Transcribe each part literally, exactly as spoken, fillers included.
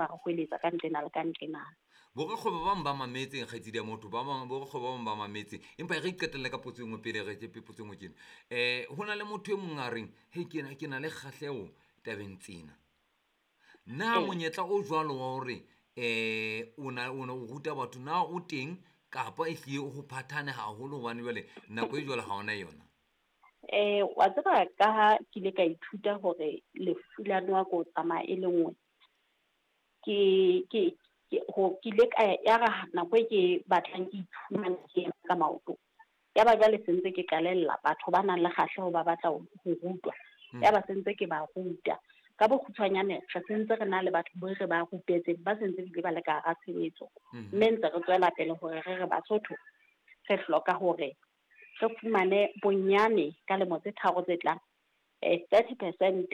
ba re hweletsa ka ntlena le ka ntlena. Borakgwebo ba bang ba mametseng kgaitsedi ya motho, ba bang borakgwebo ba bang ba mametseng, empa e re iqetelle ka potso e nngwe pele re tshepe potso e nngwe tjena. Um ho na le motho e mong a reng he ke na ke na le kgahleho tabeng tsena. Na Ee. monyetla o jwalo wa hore um o na o na o ruta batho na o teng kapa e hlile o phathane haholo hobane jwale nako e jwalo ha ona yona? Eh, wa tseba ka ha ke ile ka ithuta hore lefu la noha ke ho tsamaya e le nngwe. Ke ke ke ho ke ile ka ya re nako e ke batlang ke iphumana ke eme ka maoto. Ya ba jwale se ntse ke qalella batho ba nang le kgahleho ba batla ho ho rutwa. Hmm. Ya ba se ntse ke ba ruta. Ka bokgutshwanyane re sentse re na le batho bo re ba rupetseng ba sentse bile ba le ka hara tshebetso. Mhm. Mme ntse re tswela pele hore re re Basotho re hloka hore re fumane bonyane ka lemo tse tharo tse tlang eh thirty percent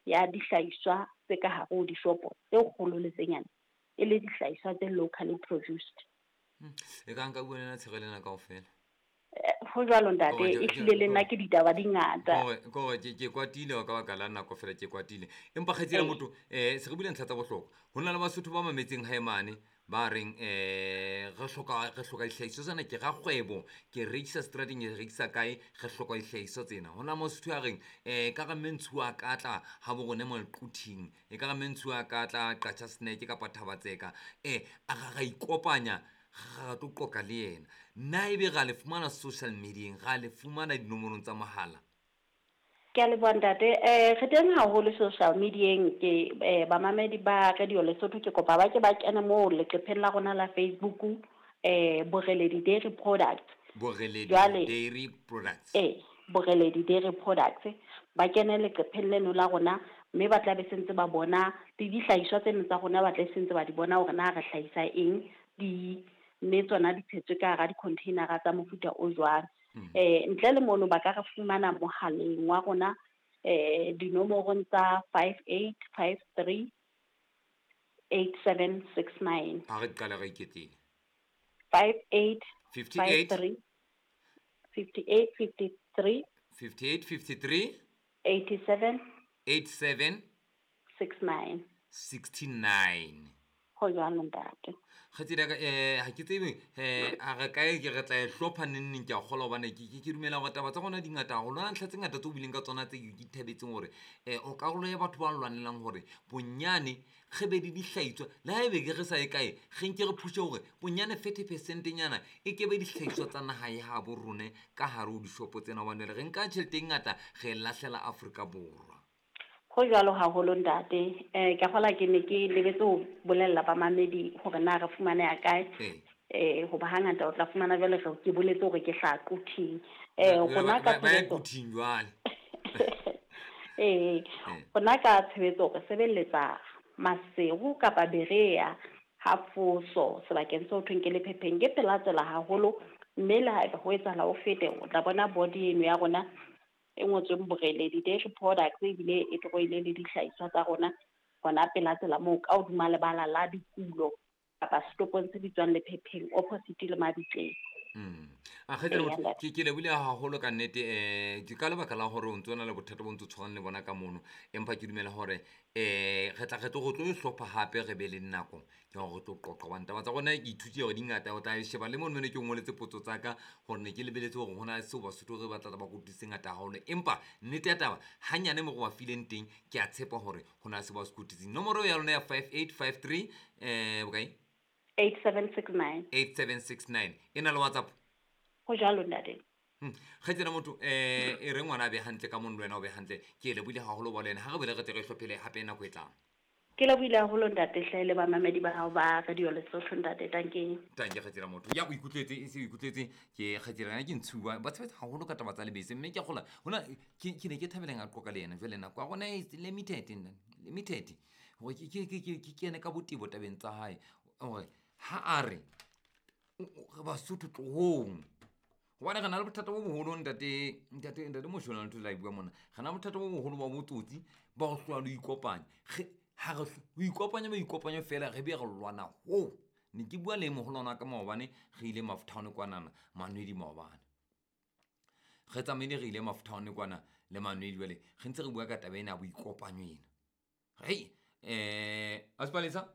ya dihlahiswa tse ka hare ho dishopo tse kgolo le tse nyane e le dihlahiswa tse locally produced. Hmm. E ka nka bua le nna tshero lena kaofela. Eh, ho jwalo ntate, Kore, e hlile le nna ke ditaba di ngata. Kore, kore ke, ke kwatile ka baka la nako fela ke kwatile. Empa kgaitsedi ya Ee. motho, eh, se re buile ntlha tsa bohlokwa. Ho na le Basotho ba mametseng hae mane ba reng, eh, re hloka, re hloka dihlahiswa tsena, ke rakgwebo, ke rekisa seterateng, ke rekisa kae, re hloka dihlahiswa tsena. Ho na le Mosotho a reng, eh, ka re mme Ntshiwa a ka tla ha bo rona Moquthing, e ka re mme Ntshiwa a ka tla Qacha Snack kapa Thabatseka, eh, a ra ra ikopanya, ra tlo qoqa le yena. Na ebe ra le fumana social media-eng, ra le fumana dinomorong tsa mohala? Ke a leboha ntate. Eh, re teng haholo social media-eng, ke, eh, bamamedi ba Radio Lesotho ke kopa ba ke ba kene moo leqepheng la rona la Facebook, eh, Boreledi Dairy Products. Boreledi Jwale, Dairy Products. Eh, Boreledi Dairy Products. Ba kene leqepheng leno la rona, mme ba tla be sentse ba bona le dihlahiswa tseno tsa rona, ba tla sentse ba di bona hore na re hlahisa eng, di mme tsona di tshetswe ka hara di-container-a tsa mofuta o jwang. Mm. Eh, ntle le mono ba ka re fumana mohaleng wa rona, eh, dinomorong tsa five eight five three eight seven six nine. Ha re qale re iketlile. Five eight Fifty five eight. three, fifty eight fifty three. Fifty eight fifty three. Eighty seven. Eight seven. Six nine. Sixty nine. Ho jwalo ntate. Kgaitsedi ya ka, eh, ha ke tsebe, eh, a re kae ke re tla e hlopha neng neng, ke a kgolwa hobane ke, ke, ke dumela hore taba tsa rona di ngata haholo. Hona ntlha tse ngata tseo o buileng ka tsona tse ke di thabetseng hore, eh, o karolo ya batho ba lwanelang hore bonyane re be le dihlahiswa, le ha ebe ke re sa ye kae, re nke re phushe hore bonyane thirty percent nyana e ke be dihlahiswa tsa naha ya habo rona ka hare ho dishopo tsena, hobane re nka tjhelete e ngata re e lahlela Afrika Borwa. Ho jwalo haholo ntate. Eh, ke kgola ke ne ke lebetse ho bolella bamamedi hore na re fumaneha kae. Ee. Eh, hoba hangata o tla fumana jwale re ke boletse hore ke hlaha Quthing. Eh, Ba- rona ba- ka ba- ba ya tshebetso Quthing jwale. Eh, Ee. rona ka tshebetso re sebeletsa Maseru kapa Berea ha Foso sebakeng seo thweng ke Lephepheng, ke pela tsela haholo, mme le haeba ho etsahala o fete o tla bona body eno ya rona e ngotsweng Boreledi Dairy Products, ebile e tlohile le dihlahiswa tsa rona hona pela tsela moo ka hodima lebala la dikulo kapa setopong se bitswang Lephepheng opposite le Mabitleng. Mm. A kgaitsedi Ee, motho, ntate. ke, ke lebohile haholo ka nnete, eh, ke ka lebaka la hore o ntso na le bothata bo ntso tshwarang le bona ka mono, empa ke dumela hore, eh, re tla re tlo, re tlo e hlopha hape re be le nako ke hore re tlo qoqa, hobane taba tsa rona ke ithutile hore di ngata. O tla sheba le mono ne ke o ngoletse potso tsa ka hore ne ke lebeletse hore hona le seo Basotho re batla ba kotutse ngata haholo, empa nnete ya taba hanyane mo re ba fileng teng, ke a tshepa hore hona le seo ba se kotutseng. Nomoro ya lona ya five eight five three, eh, bokae? Eight seven six nine. Eight seven six nine. E na le WhatsApp? Ho jwalo ntate. Hmm. Kgaitsedi motho, eh, e re ngwana a be hantle ka mono le wena o be hantle. Ke lebohile haholo ba le wena. Ha re boele re tle re hlophele hape nako e tlang. Ke lebohile haholo ntate, hle le bamamedi ba hao ba Radio Lesotho ntate, tanke. Tanke kgaitsedi motho. Ya o ikutlwetse, e se o ikutlwetse, ke kgaitsedi yena ke Ntshiwa. Ba tshebetsa haholo ka taba tsa lebese, mme ke a kgolwa hona ke, ke ne ke thabeleng a qoqa le yena. Jwale nako ya rona e limited, limited. Hore ke, ke, ke, ke, ke kene ka botebo tabeng tsa hae. Hore ha a re, o, o, re Basotho tlohong. Hobane re na le bothata bo boholo ntate, ntate, ntate Moshwelane ntho la e bua mona. Re na le bothata bo boholo ba botsotsi ba ho hlola le ho ikopanya. Re, ha re hlo-, ho ikopanya ba ikopanya fela, re be re lwana hoo. Ne ke bua le moholwana wa ka maobane, re ile Maftown kwanana, Manwedi maobane. Re tsamaile re ile Maftown kwana le Manwedi jwale, re ntse re bua ka taba ena ya boikopanyo ena. Hei, eh, Asipalesa?